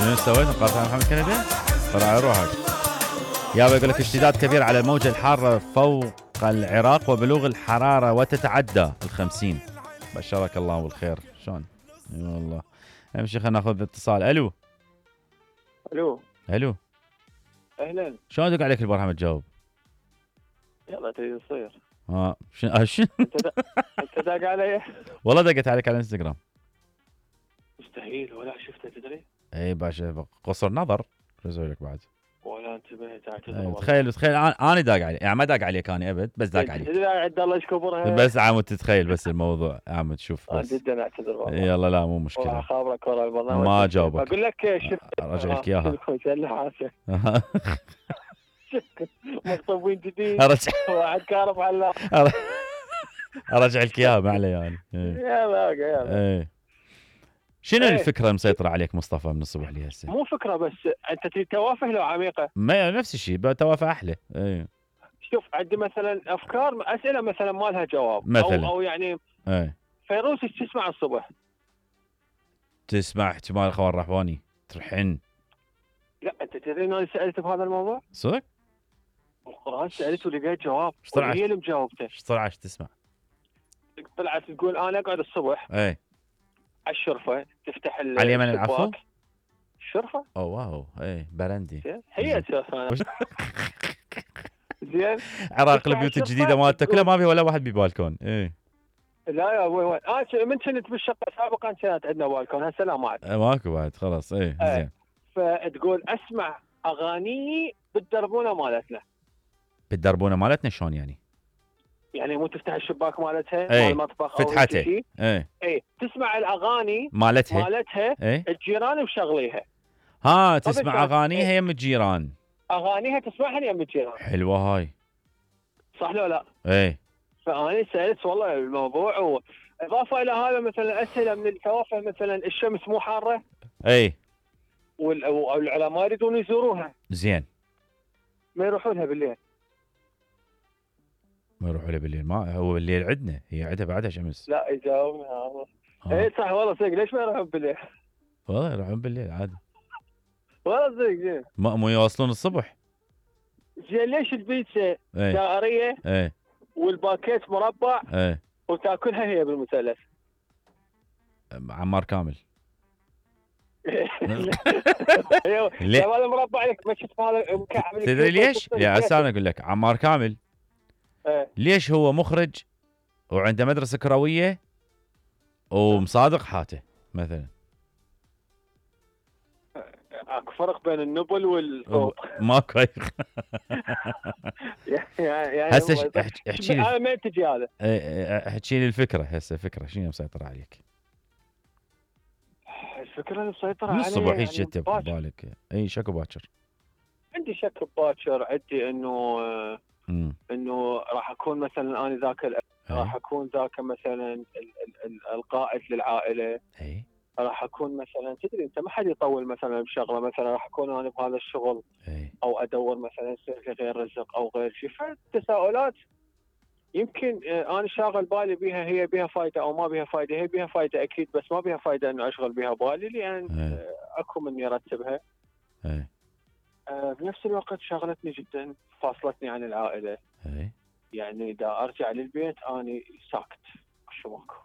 شنو سويت مقاطعة محمد كندي؟ طلع على روحك. يابا يقول لك اشتداد كبير على الموجة الحارة فوق العراق وبلوغ الحرارة وتتعدى ال50. بشرك الله بالخير. شلون؟ اي والله. امشي خلينا ناخذ اتصال. الو. الو. اهلا. شلون دق عليك البرهام تجاوب؟ يلا تريد تصير. شنو؟ انت داق علي؟ والله دقت عليك على الانستغرام. مستحيل ولا شفته تدري؟ اي باشا قصر نظر. شو اسوي لك بعد؟ ولا انتبهت اعتذر. تخيل انا داق عليك، يعني ما داق عليك انا ابد، بس داق عليك. تدري عند الله ايش كبرها. بس عم تتخيل بس الموضوع عم تشوف بس. جدا اعتذر والله. يلا لا مو مشكله. خابرك ورا البرنامج. ما جاوبك. اقول لك شفت. ارجع لك اياها. مخطوبين جديد. وعد كارب على. ارجع لك اياها ما علي يعني. يلا. شنو الفكره المسيطره عليك مصطفى من الصبح لي هسه؟ مو فكره بس انت تريد توافه لو عميقه. ما نفس الشيء توافه احلى. شوف عندي مثلا افكار اسئله مثلا ما لها جواب مثلا. او يعني. فيروز ايش تسمع الصبح؟ تسمع احتمال اخوان رحباني ترحن. لا انت تدري اني سالت بهذا الموضوع؟ صدق؟ القرآن سالته ولقيت جواب وهي اللي مجاوبته. ايش طلعت تسمع؟ طلعت تقول انا اقعد الصبح على الشرفه تفتح على اليمن العفو؟ الشرفه؟ اوه واو برندي. هي اساسا. زين. عراق البيوت الجديده مالته كلها ما فيها ولا واحد ببالكون. لا يا ابوي من كنت بالشقه سابقا كانت عندنا بالكون هسه لا ما عاد. ماكو بعد خلاص. زين. فتقول اسمع اغاني بالدربونه مالتنا. بالدربونه مالتنا شلون يعني؟ يعني مو تفتح الشباك مالتها مال المطبخ فتحتها. تسمع الاغاني مالتها الجيران مشغليها. تسمع اغانيها يم الجيران. اغانيها تسمعها يم الجيران. حلوه هاي. صح لو لا؟ فأنا سألت والله الموضوع وإضافة إلى هذا مثلا أسئلة من التوافه مثلا الشمس مو حارة. والعلماء يريدون يزوروها. زين. ما يروحوا لها بالليل. ما يروحوا لها بالليل. ما هو بالليل عندنا هي عندها بعدها شمس. لا يجاوبنا. صح والله صدق ليش ما يروحون بالليل؟ والله يروحون بالليل عادي. والله صدق زين. مو يواصلون الصبح. زين ليش البيتزا دائرية؟ والباكيت مربع. وتاكلها هي بالمثلث. عمار كامل. هذا مربع لك ما شفت هذا مكعب. تدري ليش؟ يا انا اقول لك عمار كامل. ليش هو مخرج وعنده مدرسه كرويه ومصادق حاته مثلا. اكو فرق بين النبل والصوت. ماكو. يعني هسه احكي لي. انا ما تجي هذا. احكي لي الفكره هسه فكره شنو مسيطره عليك؟ الفكره اللي مسيطره علي من الصبح هيك يعني جت ببالك شكو باكر؟ عندي شك باكر. عندي انه راح اكون مثلا انا ذاك راح اكون ذاك مثلا القائد للعائله. راح اكون مثلا تدري انت ما حد يطول مثلا بشغله مثلا راح اكون انا بهذا الشغل. او ادور مثلا يصير غير رزق او غير شيء. فالتساؤلات يمكن انا شاغل بالي بها هي بها فائده او ما بها فائده. هي بها فائده اكيد بس ما بها فائده انه اشغل بها بالي لان اكو مني ارتبها. بنفس الوقت شغلتني جدا فاصلتني عن العائله. يعني اذا ارجع للبيت اني ساكت شو ماكو.